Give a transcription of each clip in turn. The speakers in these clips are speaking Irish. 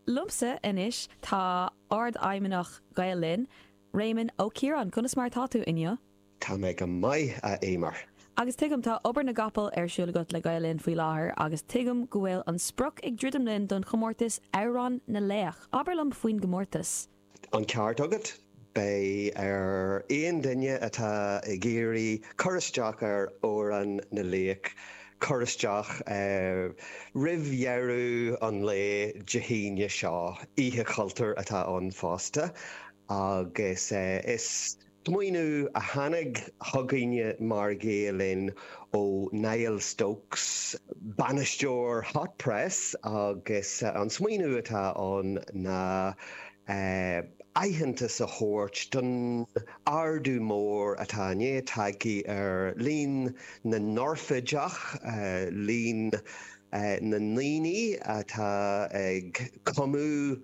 Liomsa anois tá Ardfheidhmeannach Ghael Linn, Réamonn Ó Ciaráin. Conas mar atá tú inniu? Tá mé go maith, a Eimear. Agus tuigim, tá obair na gcapall ar siúl agat le Gael Linn faoi láthair agus tuigim go bhfuil an sprioc ag druidim linn don chomórtas Amhrán na Laoch. Abair liom faoin gcomórtas. An ceart agat. Beidh ar aon duine atá ag iarraidh cur isteach ar Amhrán na Laoch cur isteach roimh dheireadh an lae Dé hAoine seo. Oíche Chultúir atá ann fosta agus is smaoineamh a tháinig chugainne mar Ghael Linn ó Niall Stokes, bainisteoir Hot Press agus an smaoineamh atá ann ná aitheantas a thabhairt don ardú mór atá i ndiaidh tagtha ar líon na n-oirfideach, líon na ndaoine atá ag cumadh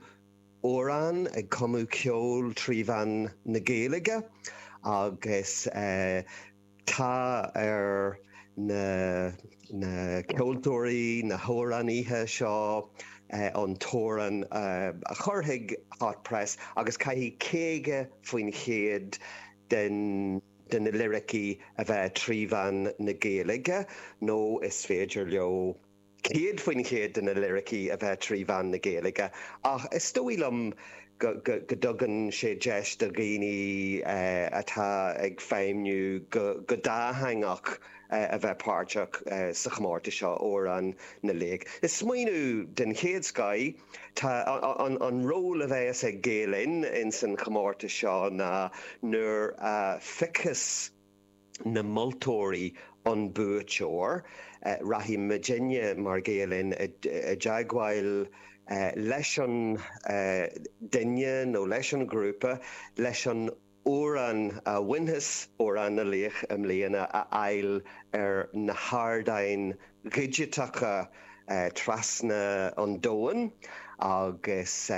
amhrán, ag cumadh ceoil trí mheán na Gaeilge agus tá ar na na ceoltóirí, na hamhránaithe seo an t-amhrán a chur chuig Hot Press agus caithfidh 50% den de na liricí a bheith trí mheán na Gaeilge nó is féidir leo 100% de na liricí a bheith trí mheán na Gaeilge ach is dóigh liom go dtugann sé deis do dhaoine atá ag feidhmiú go dátheangach a bheith páirteach sa chomórtas seo, Amhrán na Laoch. Is smaoineamh den chéad scoith. Tá an ról a bheas ag Gael Linn ins an chomórtas seo ná nuair a phiocfas na moltóirí an buaiteoir. Rachaidh muidinne mar Gael Linn i dteagmháil leis an duine nó leis an ghrúpa leis an amhrán a bhainfeas Amhrán na Laoch i mbliana a fháil ar na hardáin dhigiteacha trasna an domhain agus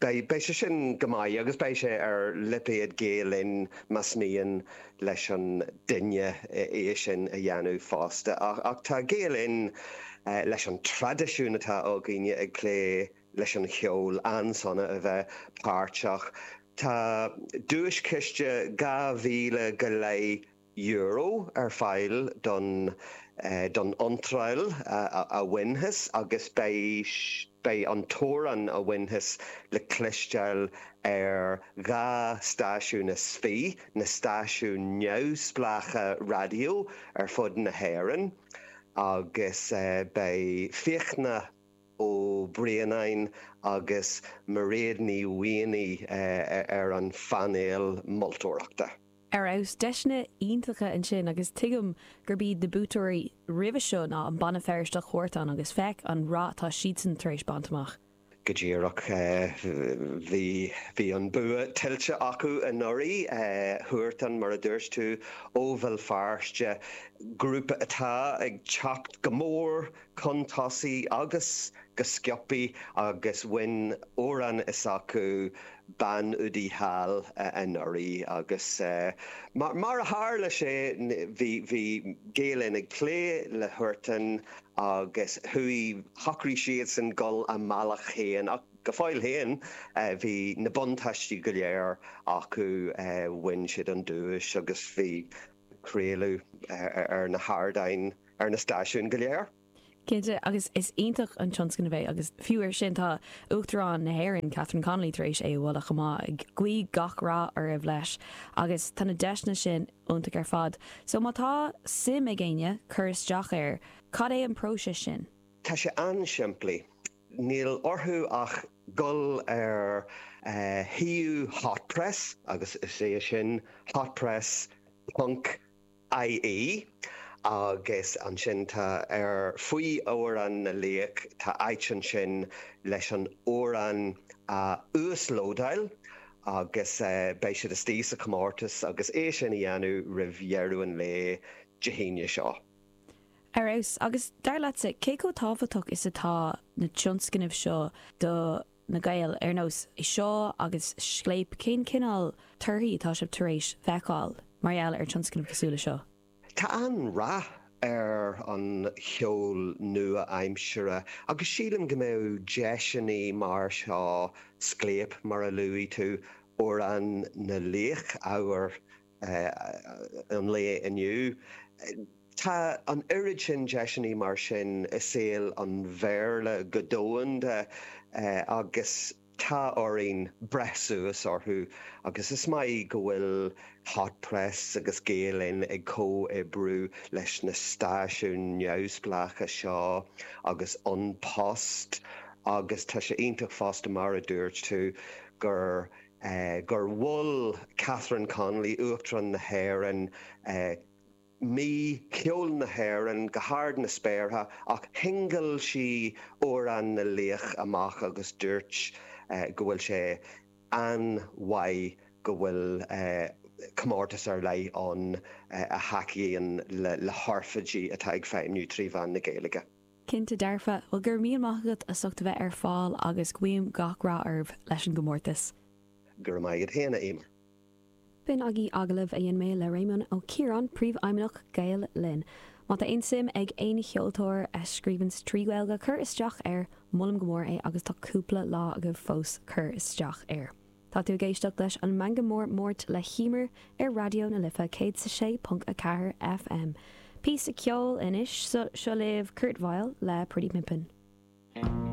Beidh sé sin go maith agus beidh sé ar lipéad Gael Linn más mian leis an duine é sin a dhéanamh fosta. Ach tá Gael Linn, leis an traidisiún atá againne ag plé leis an cheol, an-sona a bheith páirteach. Tá duaischiste 2,000 go leith euro ar fáil don don iontráil a bhainfeas agus beidh beidh an t-amhrán a bhainfeas le cloisteáil ar dhá stáisiún is fi, na stáisiúin neamhspleácha raidió ar fud na hÉireann agus beidh Fiachna Ó Braonáin agus Mairéad Ní Mhaonaigh ar an phainéal moltóireachta. Ar fheabhas. Deiseanna iontacha ansin agus tuigim gurb iad na buaiteoirí roimhe seo ná an banna Feirsteach Huartan agus féach an rath atá siadsan tar éis baint amach. Go díreach. Bhí bhí an bua tuillte acu anuraidh. Huartan, mar a dúirt tú, ó Bhéal Feirste, grúpa atá ag teacht go mór chun tosaigh agus go sciobtha agus bhain amhrán s'acu Bean Udaí Thall anuraidh agus mar a tharla sé bhí bhí Gael Linn ag plé le Huartan agus chuaigh, shocraigh siadsan dul a mbealach féin ach go fóill féin bhí na buntáistí go léir acu, bhain siad an duais agus bhí craoladh ar na hardáin ar na stáisiúin go léir. Cinnte, agus is iontach an tionscnamh é agus fiú ar sin tá Uachtarán na hÉireann, Catherine Connolly, tar éis é a mholadh chomh maith, ag guí gach rath oraibh leis agus tá na deiseanna sin iontach ar fad. So má tá suim ag éinne cur isteach air, cad é an próiseas sin? Tá sé an-simplí. Níl orthu ach dul ar shuíomh Hot Press agus is é sin hotpress ponc ie agus ansin tá ar faoi Amhrán na Laoch tá áit ansin leis an amhrán a uaslódáil agus beidh siad istigh sa chomórtas agus é sin a dhéanamh roimh dheireadh an lae Dé hAoine seo. Ar fheabhas. Agus dar leatsa, cé chomh tábhachtach is atá na tionscnaimh seo do na Gaeil, ar nós seo agus Scléip, cén cineál torthaí atá sibh tar éis feiceáil mar gheall ar tionscnaimh cosúil le seo? Tá an-rath. ar an cheol nua-aimseartha agus sílim go mbeadh deiseanna mar seo, Scléip mar a luaigh tú, Amhrán na Laoch, ábhar an lae inniu. Tá an oiread sin deiseanna mar sin i saol an Bhéarla go domhanda agus Tá orainn breith suas orthu agus is maith go bhfuil Hot Press agus Gael Linn ag comhoibriú leis na stáisiúin neamhspleácha seo agus An Post agus tá sé iontach fosta mar a dúirt tú gur gur mhol Catherine Connolly, Uachtarán na hÉireann, Mí Cheoil na hÉireann go hard na spéartha ach shingil sí Amhrán na Laoch amach agus dúirt go bhfuil sé an-mhaith go bhfuil comórtas ar leith ann a thacaíonn le hoirfidigh atá ag feidhmiú trí mheán na Gaeilge. Cinnte dearfa. Bhuel, go raibh míle maith agat as ucht a bheith ar fáil agus guím gach rath oraibh leis an gcomórtas. Go raibh maith agat féin, a Eimear. B'in agaibh agallamh a dhein mé le Réamonn Ó Ciaráin, Príomhfheidhmeannach Gael Linn. Má tá aon suim ag aon cheoltóir a scríobhanns trí Ghaeilge cur isteach air, molaim go mór é agus tá cúpla lá agaibh fós cur isteach air. Tá tú ag éisteacht leis an Meangadh Mór Máirt le hEmer ar Raidió na Life 106.4 FM. Píosa ceoil anois, seo libh Kurt Vile le Pretty Pimpin'.